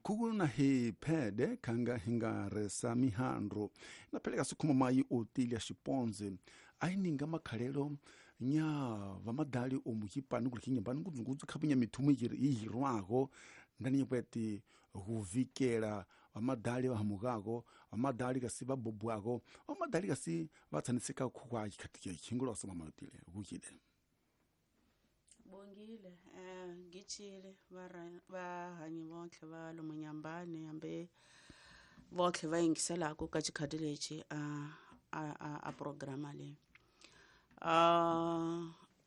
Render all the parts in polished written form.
Khuku na hi phede khanga hi nga resa mihandru na pheleka sikhuma mayi Otilia Xiponze a ininga makhalelo nya vamadali o mukipani kuli kinyambani ngudzungudzu khapunya mithumu ihirwago ndani nyepweti huvikela vamadali vahamukako, vamadali kasi vabobwako, vamadali kasi vatsaniseka khukwa khatike khingula osoma mayotile kukile. Bongile, ngichile vahanyi vontlhe va lomu Nyambani hambi vontlhe va yingiselaka ka xikhati lexi a programa leyi.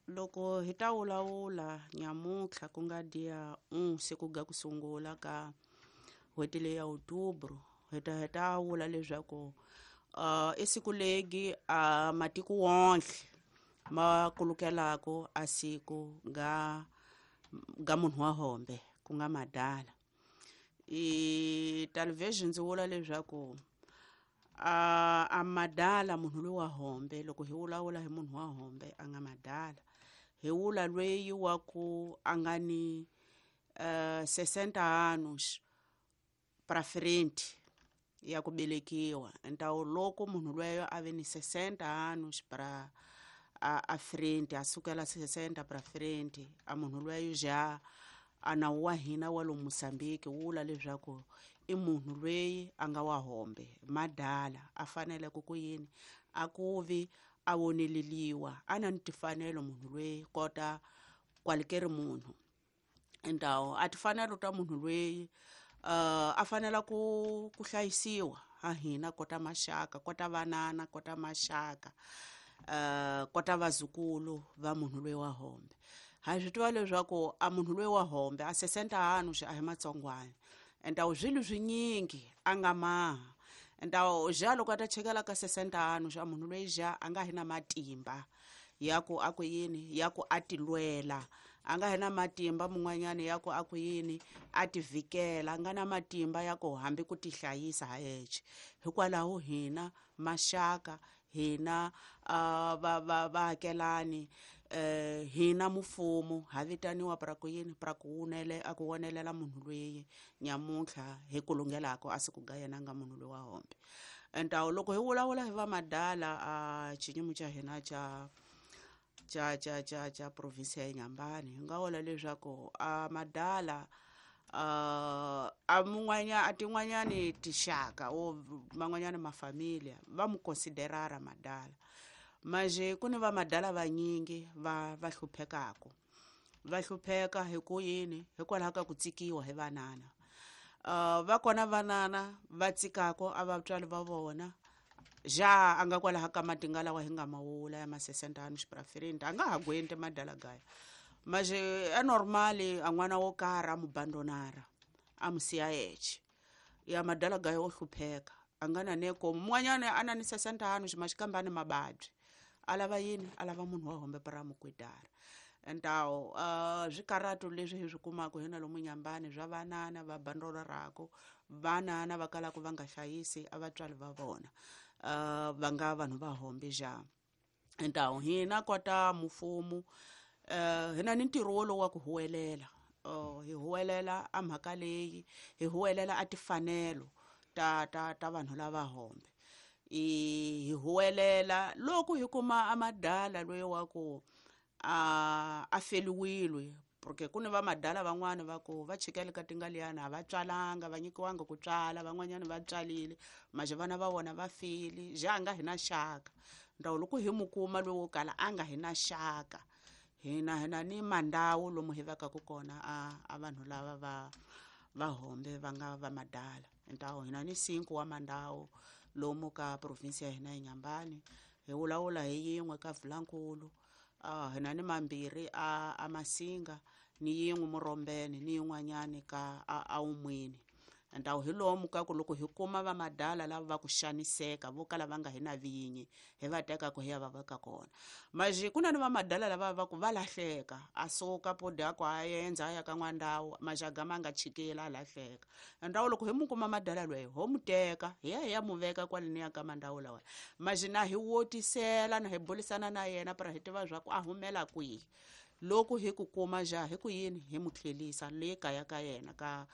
Loko hi ta vulavula nyamuntlha ku nga dia siku ga ku sungula ka n'hweti leyi ya Outubro, hi ta vula leswaku i siku legi a matiko wonhle ma kulukelaka a siku ga munhu wa hombe ku nga madala. I television ndzi vula leswaku a madala munhu loyi wa hombe, loko hi vulavula hi munhu wa hombe a nga madala, hi vula lweyi wa ku a nga ni 60 anos pra frente ya ku velekiwa. Então loko munhu lweyo a ve ni 60 anos pra a frente, a sukela 60 pra frente, a munhu lweyo ja a nawu wa hina wa lomu Mozambique wu vula leswaku i munhu lweyi a nga wa hombe madala, a fanele ku yini a ku vi a voneleliwa, a na ni timfanelo munhu lweyi kota kwalikeri munhu. Então a timfanelo ta munhu lweyi a fanela ku hlayisiwa ha hina kota maxaka, kota vanana, kota maxaka, kota vazukulu va munhu loyi wa hombe. Ha swi tiva leswaku a munhu loyi wa hombe a 60 anos a hi matsongwana, então swilo swinyingi a nga maha. Então ja loko a ta chekela ka 60 anos a munhu loyi ja a nga hi na matimba ya ku a ku yini ya ku a tilwela, a nga hi na matimba mun'wanyana ya ku a ku yini a tivikela, a nga na matimba ya ku hambi ku tihlayisa ha yexe. Hikwalaho hina maxaka, hina vaakelani, hina mfumo ha vitaniwa pra ku yini pra ku wunele a ku wonelela munhu loyi nyamuntlha hi ku lunghelaka a siku ga yena nga munhu loyi wa hombe. Então loko hi vulavula hi va madala a xiyimo xa hina xa province ya Nyambani, hi nga vula leswaku a madala a mun'wanya a tin'wanyani tixaka o man'wanyani mafamilia va mu considerara madala, manje ku ni va madala vanyingi va hluphekaka, va hlupheka hi ku yini hikwalaho ka ku tsikiwa hi vanana. Va kona vanana va tsikaka a vatswari va vona ja a nga kwalaho ka matinga lawa hi nga mawula ya ma 60 anos pra frente, a nga ha gwenti madala gaya, manje e normali a n'wana wo karhi a mu bandonara a mu siya yexe ya madala gaya wo hlupheka, a nga na neko mun'wanyana a na ni 60 anos maxikambe a ni mavabyi, a lava yini a lava munhu wa hombe para mu kwidara. Então swikarhato leswi hi swi kumaka hina lomu Nyambani swa vanana va bandonaraka, vanana va kalaka va nga hlayisi a vatswari va vona, va nga vanhu va hombe ja. Então hina kota mfumo hina ni ntirho wolowo wa ku huwelela, hi huwelela a mhaka leyi, hi huwelela a timfanelo ta vanhu lava hombe. Hi huwelela loko hi kuma a madala loyi wa ku a feliwile, porque ku ni va madala van'wani va ku va chikele ka tingaliyana a va tswalanga, va nyikiwanga ku tswala, van'wanyana va tswalile manje vana va vona va file, ja a nga hi na xaka. Então loko hi mu kuma loyi wo kala a nga hi na xaka, hina ni mandawu lomu hi vekaka kona a vanhu lava va hombe va nga va madala. Então hina ni 5 wa mandawu lomu ka province ya hina ya Nyambani, hi vulavula hi yin'we ka Vulankulu, hina ni mambirhi a Masinga, ni yin'we Murombeni, ni yin'wanyani ka a Umwini. Então hi lomu ka ku loko hi kuma va madala lava va ku xaniseka vo kala va nga hi na vinyi, hi va teka ku hi ya va veka kona. Manje ku na ni va madala lava va ku va lahleka, a suka podi a ku a endza a ya ka n'wandawu, manje a gama a nga chikela a lahleka. Então loko hi mu kuma madala loyi ho mu teka hi ya hi ya mu veka kwale ni ya ka mandawu lawa, manje na hi wotisela na hi burisana na yena para hi tiva swa ku a humela kwihi. Loko hi ku kuma ja hi ku yini hi mu tlhelisa le kaya ka yena ka